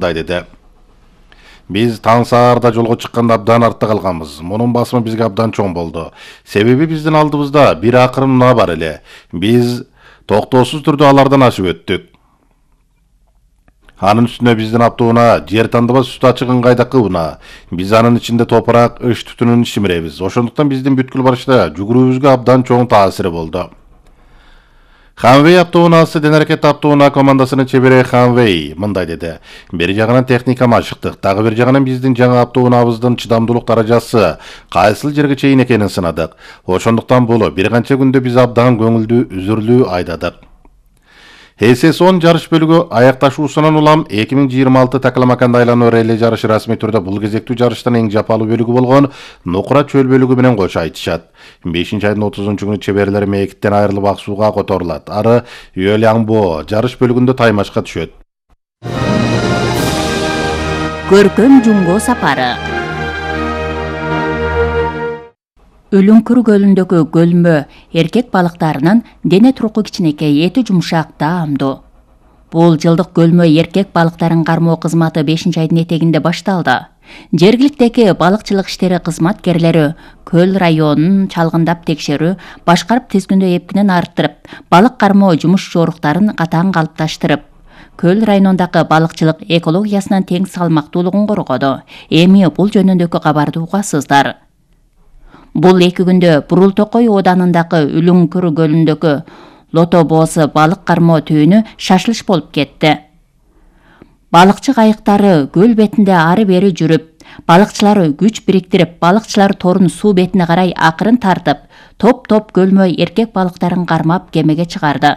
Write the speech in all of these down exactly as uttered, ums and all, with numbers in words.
мындай деди. Биз таң саарда жолго чыкканда абдан артта калганбыз. Мунун басымы бизге абдан чоң болду. Себеби биздин алдыбызда бир акырым унаа бар эле. Биз токтоосуз түрдө алардан ашып өттүк. Анын үстүнө биздин автоунаа жер тандыбас үстү ачык ыңгайдакы унаа. Биз анын ичинде топурак, ыш түтүнүн шимиребиз. Ошондуктан биздин бүткүл барышта жүгүрүүбүзгө абдан чоң таасири болду. Ханвей автоунаасы ден аракет автоунаа командасынын чебери Ханвей мындай деди. Бир жагынан техниканы ашыктык, дагы бир жагынан биздин жаңы автоунаабыздын чыдамдуулук даражасы кайсыл жерге чейин экенин сынадык. Ошондуктан бул бир канча күндө биз абдан көңүлдүү, үзүрлүү айдадык. эс эс он жарыш бөлүгү аякташуусунан улам эки миң жыйырма алты Такаламаканда айлануу релли жарышы расмий түрдө бул кезектүү жарыштын эң жапалуу бөлүгү болгон Нукура чөл бөлүгү менен кошо айтышат. бешинчи айдын отузунчу күнү чеберлер мээкиттен айрылып ак сууга которулат. Ары Юэлянбо жарыш бөлүгүндө таймашка түшөт. Көркөм жумго сапары. Өлүңкүр көлүндөгү көлмө эркек балыктарынын дене турку кичинекей, эти жумшак, даамдуу. Бул жылдык көлмө эркек балыктарын кармоо кызматы бешинчи айдын этегинде башталды. Жергиликтеги балыкчылык иштери кызматкерлери көл районун чалгындап текшерүү, башкарып тизгиндөө эпкинин арттырып, балык кармоо жумуш жоруктарын катаң калыпташтырып, көл районундагы балыкчылык экологиясынын тең салмактуулугун коргоду. Эми бул жөнүндөгү кабарды угасыздар. Бул эки күндө Бурул Токой ооданындагы Өлүңкүр көлүндөгү Лото боосу балык кармоо түбүнү шашылыш болуп кетти. Балыкчы кайыктары көл бетинде ары бери жүрүп, балыкчылар күч бириктирип, балыкчылар торун суу бетине карай акырын тартып, топ-топ көлмө эркек балыктарын кармап кемеге чыгарды.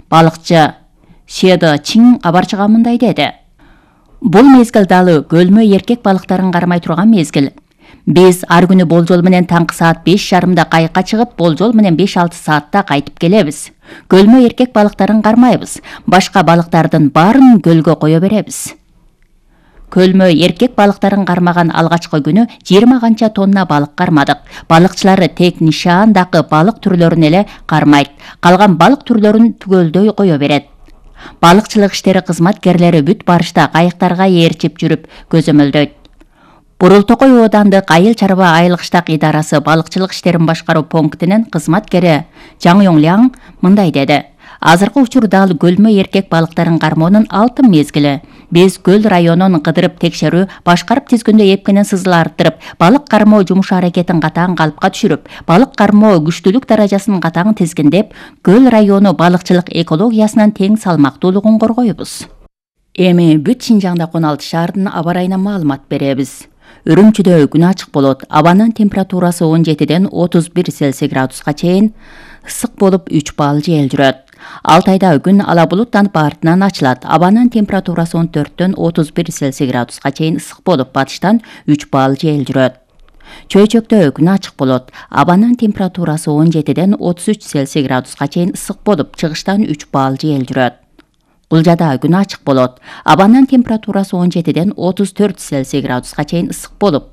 Балыкчы Седо Чин кабарчыга мындай деди. Бул мезгил далы көлмө эркек балыктарын кармай турган мезгил. Биз ар күнү болжол менен таңкы саат беш жарымда кайыкка чыгып, болжол менен беш алты саатта кайтып келебиз. Көлмө эркек балыктарын кармайбыз. Башка балыктардын баарын көлгө кое беребиз. Көлмө эркек балыктарын кармаган алгачкы күнү жыйырма канча тонна балык кармадык. Балыкчылары тек нишаандагы балык түрлөрүн эле кармайт. Калган балык түрлөрүн түгөлдөй кое берет. Балыкчылык иштери кызматкерлери бүт барышта кайыктарга ээрчип жүрүп көзөмөлдөйт. Бурул Токой оодандык Айыл чарба айыл кыштак идарасы балыкчылык иштерин башкаруу пунктинин кызматкери Жаң Йоңляң мындай деди. Азыркы учурда ал көлмө эркек балыктарын кармоонун алтын мезгили. Биз көл районун кыдырып текшерүү, башкарып тизгиндөө эпкинин сызыл арттырып, балык кармоо жумуш аракетин катаң калыпка түшүрүп, балык кармоо күчтүүлүк даражасын катаң тизгиндеп, көл району балыкчылык экологиясынын тең салмактуулугун коргойбуз. Эми бүт Шинжаңда он алты шаардын аба ырайына маалымат беребиз. Үрүмчүдө күн ачык болот. Абанын температурасы он жетиден отуз бир Цельсий градуска чейин, ысык болуп үч балл жел жүрөт. Алтайда күн ала булуттанып артынан ачылат. Абанын температурасы он төрттөн отуз бир Цельсий градуска чейин ысык болуп, батыштан үч балл жел жүрөт. Чөйчөктө күн ачык болот. Абанын температурасы он жетиден отуз үч Цельсий градуска чейин ысык болуп, чыгыштан үч балл жел жүрөт. Кулжада күн ачык болот. Абанын температурасы он жетиден отуз төрт Цельсий градуска чейин ысык болуп,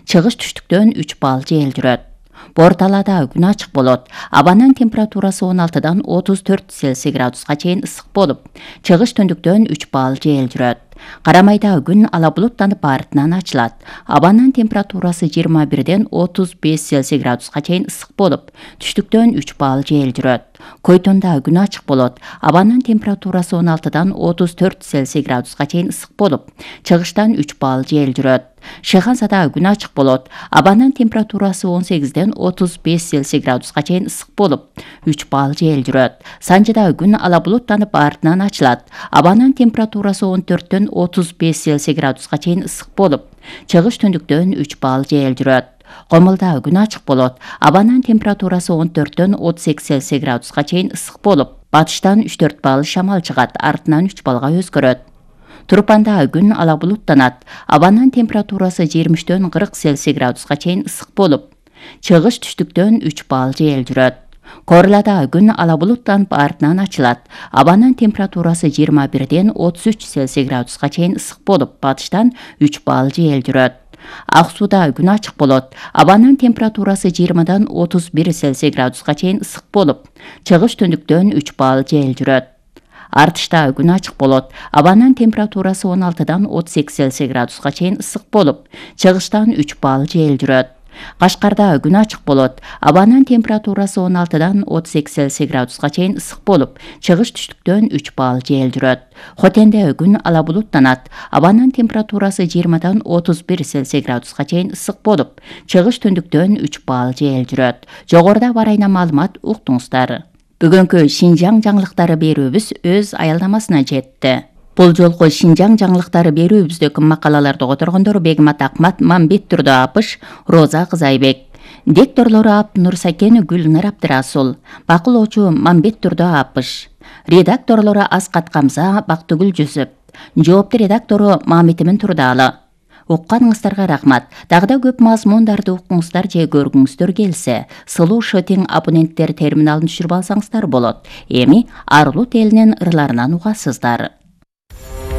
чыгыш түштүктөн үч балл жел жүрөт. Борталада күн ачык болот. Абанын температурасы он алтыдан отуз төрт Цельсий градуска чейин ысык болуп, чыгыш түндүктөн үч балл жел жүрөт. Карамайда күн ала булуттанып артынан ачылат. Абанын температурасы жыйырма бирден отуз беш Цельсий градуска чейин ысык болуп, түштүктөн үч балл жел жүрөт. Койтонда күн ачык болот. Абанын температурасы он алтыдан отуз төрт Цельсий градуска чейин ысык болуп, чыгыштан үч балл жел жүрөт. Шыгансада күн ачык болот. Абанын температурасы он сегизден отуз беш Цельсий градуска чейин ысык болуп, үч балл жел жүрөт. Санжыда күн ала булуттанып артынан ачылат. Абанын температурасы он төрттөн отуз беш Цельсий градуска чейин ысык болуп, чыгыш түндүктөн үч балл жел жүрөт. Комулда күн ачык болот. Абанын температурасы он төрттөн отуз эки Цельсий градуска чейин ысык болуп, батыштан үч төрт балл шамал чыгат, артынан үч баллга өзгөрөт. Турпанда күн ала булуттанат. Абанын температурасы жыйырма үчтөн кырк Цельсий градуска чейин ысык болуп, чыгыш түштүктөн үч балл жел жүрөт. Корлада күн ала булуттанып артынан ачылат. Абанын температурасы жыйырма бирден отуз үч Цельсий градуска чейин ысык болуп, батыштан үч балл жел жүрөт. Ак сууда күн ачык болот. Абанын температурасы жыйырмадан отуз бир Цельсий градуска чейин ысык болуп, чыгыш түндүктөн үч балл жел жүрөт. Артышта күн ачык болот. Абанын температурасы он алтыдан отуз эки Цельсий градуска чейин ысык болуп, чыгыштан үч балл жел жүрөт. Кашкарда күн ачык болот. Абанын температурасы он алтыдан отуз эки Цельсий градуска чейин ысык болуп, чыгыш түштүктөн үч балл жел жүрөт. Хотенде күн ала булуттанат. Абанын температурасы жыйырмадан отуз бир Цельсий градуска чейин ысык болуп, чыгыш түндүктөн үч балл жел жүрөт. Жогоруда бар айна маалымат уктуңуздар. Бүгүнкү Шинжаң жаңылыктары берүүбүз өз аялдамасына жетти. Бул жолку Шинжаң жаңылыктары берүүбүздөгү макалаларды которгондор Бегмат Акмат, Мамбет Турдо Апыш, Роза Кызайбек. Дикторлору Абнур Сакен, Гүлнар Абдырасул. Бакылоочу Мамбет Турдо Апыш. Редакторлору Аскат Камза, Бактыгүл Жүсүп. Жоопту редактору Мамитимин Турдалы. Укканыңыздарга рахмат. Дагы да көп мазмундарды укуңуздар же көргүңүздөр келсе, сылуу шотинг абоненттер терминалын түшүрүп алсаңыздар болот. Эми Арлут элинин ырларынан угасыздар.